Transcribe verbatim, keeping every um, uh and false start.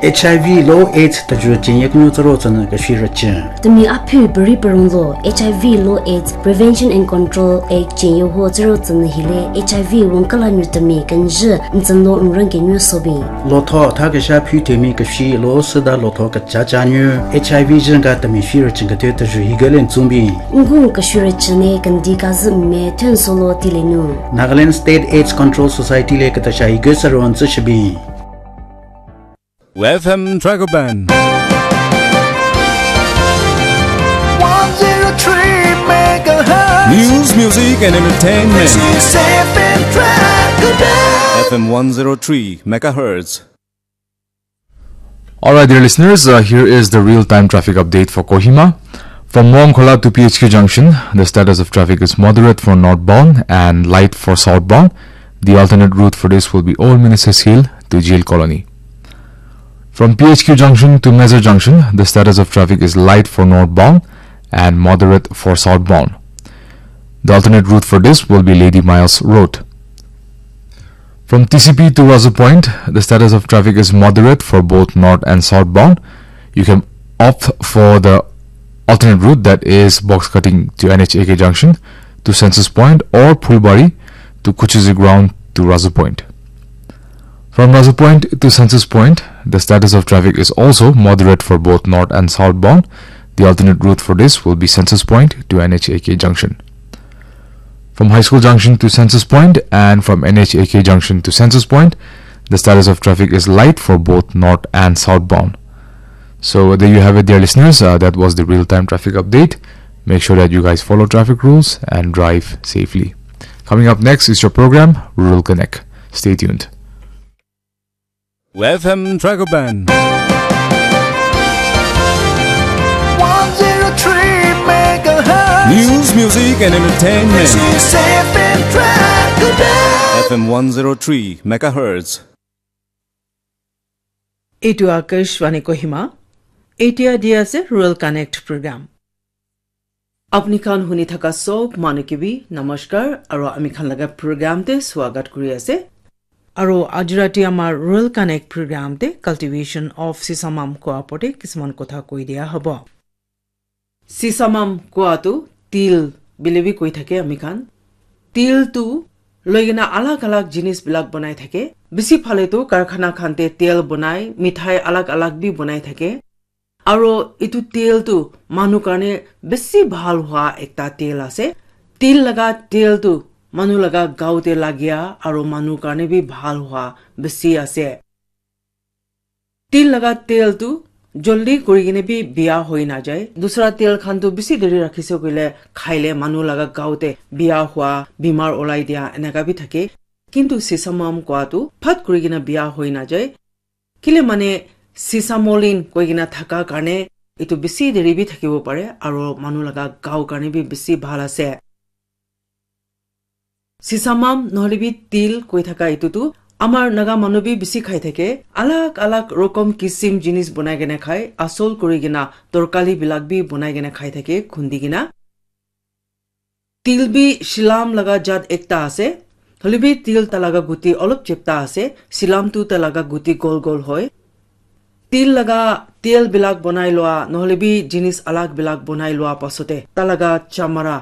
H I V lo AIDS tajuru chen yaknu taro tsana kashi rachen. Temi aphi bari parung lo H I V lo AIDS Prevention and Control Act chen yo ho taro tsana hile H I V wong kala nyu temi kanji ntsan lo nrang ke nyu sobi. Lo tho tha kasha phi temi kashi lo sada lo tho kacha cha nyu H I V jin ka temi shi rachen ka te tajuru higalen tsumbi. Ngung kashi rachen ne kandi kazi me tun solo tile nu. Nagaland State AIDS Control Society le katasha hige saron tsa shibi. F M Dragon Band. One zero three megahertz. News, music, and entertainment. This is F M Dragon Band. F M one zero three megahertz. All right, dear listeners, uh, here is the real-time traffic update for Kohima. From Muangkhola to P H Q junction, the status of traffic is moderate for northbound and light for southbound. The alternate route for this will be Old Ministers Hill to Jail Colony. From P H Q junction to Mezar junction, the status of traffic is light for northbound and moderate for southbound. The alternate route for this will be Lady Miles Road. From T C P to Razu Point, the status of traffic is moderate for both north and southbound. You can opt for the alternate route, that is box cutting to N H A K junction to Census Point or Phulbari to Kuchuzi ground to Razu Point. From Razu Point to Census Point, the status of traffic is also moderate for both north and southbound. The alternate route for this will be Census Point to N H A K junction. From High School Junction to Census Point and from N H A K Junction to Census Point, the status of traffic is light for both north and southbound. So there you have it, dear listeners. Uh, that was the real-time traffic update. Make sure that you guys follow traffic rules and drive safely. Coming up next is your program, Rural Connect. Stay tuned. F M Dragon Band. One zero three megahertz. News, music, and entertainment. This is F M Dragon Band. F M one zero three megahertz. এইটো আকাশবাণী কহিমা। এতিয়া দি আছে ৰুৰেল কানেক্ট প্ৰগ্ৰাম। আপুনি খান শুনি থকা চব মানুহ কিবি নমস্কাৰ আৰু আমি খান লগা প্ৰগ্ৰামতে স্বাগত কৰি আছে। আৰু আজি ৰাতি আমাৰ ৰুৰেল কানেক্ট প্ৰগ্ৰামতে কাল্টিভেশ্যন অফ চিচামাম কোৱা ওপৰতে কিছুমান কথা কৈ দিয়া হ'ব। চিচামাম কোৱাটো তিল বুলি বি কৈ থাকে আমি খান। তিলটো লৈ কিনে আলাগ আলাগ জিনিছবিলাক বনাই থাকে। বেছি ফালেতো কাৰখানা খানতে তেল বনাই, মিঠাই আলাগ আলাগ বি বনাই থাকে। আৰু এইটো তেলটো মানুহ কাৰণে বেছি ভাল হোৱা একটা তেল আছে। তিল লগা তেলটো মানুহ লগা গাওঁতে লাগিয়া আৰু মানুহ কাৰণে বি ভাল হোৱা বেছি আছে। তিল লগা তেলটো জল্দি কৰি কিনে বি বিয়া হৈ নাযায়। দুচৰা তেল খানটো বেছি দেৰি ৰাখিছে কৰিলে খাইলে মানুহ লগা গাওঁতে বিয়া হোৱা, বেমাৰ ওলাই দিয়া এনেকা বি থাকে। কিন্তু চিচামাম কোৱাটো ফট কৰি কিনে বিয়া হৈ নাযায়। কিলে মানে চিচামলিন কৈ কিনে থাকা কাৰণে এইটো বেছি দেৰি বি থাকিব পাৰে আৰু মানুহ লগা গাঁও কাৰণে বি বেছি ভাল আছে। চিচামাম নহ'লে বি তিল কৈ থাকা এইটোতো আমাৰ নাগা মানুহ বি বেছি খাই থাকে। আলাগ আলাগ ৰকম কিচিম জিনিছ বনাই কেনে খায়, আচল কৰি কিনা তৰকাৰীবিলাক বি বনাই কেনে খাই থাকে খুন্দি কিনা। তিল বি চিলাম লগা জাত একটা আছে। হ'লে বি তিল তা লগা গুটি অলপ চেপ্তা আছে, চিলামটো তা লগা গুটি গল গল হয়। তিল লগা তেল বিলাক বনাই লোৱা, নহ'লে বি জিনিছ আলাগ বিলাক বনাই লোৱা পাছতে তা লগা চামৰা